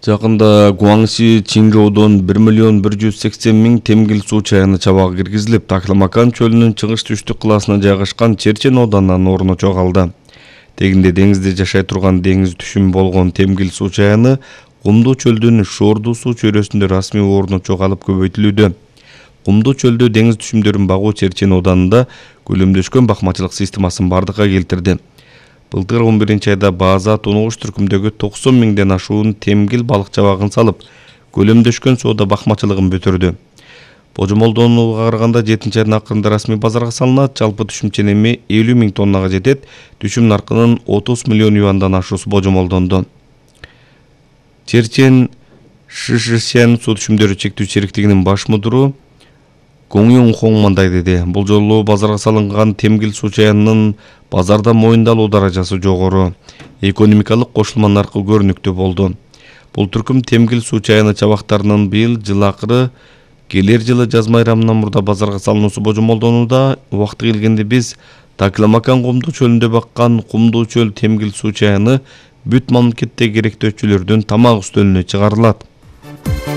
Жакында Гуаңши Чинжоудон 1.180.000 темгил суу чайыны чабагы киргизилип, Такламакан чөлүнүн чыгыш-түштүк кыласына жайгашкан Черчен оданынан орну чогалды. Тегинде деңизде жашай турган деңиз түшүм болгон темгил суу чайыны Кумдуу чөлдүн Шорду суу чөйрөсүндө расмий орну чогалып көбөйтүлүүдө. Кумдуу чөлдө деңиз түшүмдөрүн багуу Черчен оданында көлөмдөшкөн бакмачылык системасын бардыкка келтирди. Былтыр 11-айда база Тонугуш түркүмдөгү 90.000ден ашуун темгил балык чабагын салып, көлөмдөшкөн соода бакмачылыгын бүтүрдү. Божомолдонууга караганда 7-айдын акырында расмий базарга салынат, жалпы түшүм ченеми 50.000 тоннага жетет, түшүм наркынын 30 миллион юандан ашуусу божомолдонду. Черчен Шишисян суу түшүмдөрү чектүү чириктигинин баш мудуру Гоңюң Хон мындай деди: бул жолу базарга салынган темгил суу чайынын базарда моюндалуу даражасы жогору, экономикалык кошулма наркы көрүнүктүү болду. Бул түркүм темгил суу чайыны чабактарынын быйыл жыл акыры, келер жылы жаз майрамынан мурда базарга салынуусу божомолдонууда. Убакыты келгенде биз Такламакан Кумдуу чөлүндө баккан Кумдуу чөл темгил суу чайыны бүт мамлекетте керектөөчүлөрдүн тамак үстөлүнө чыгарылат.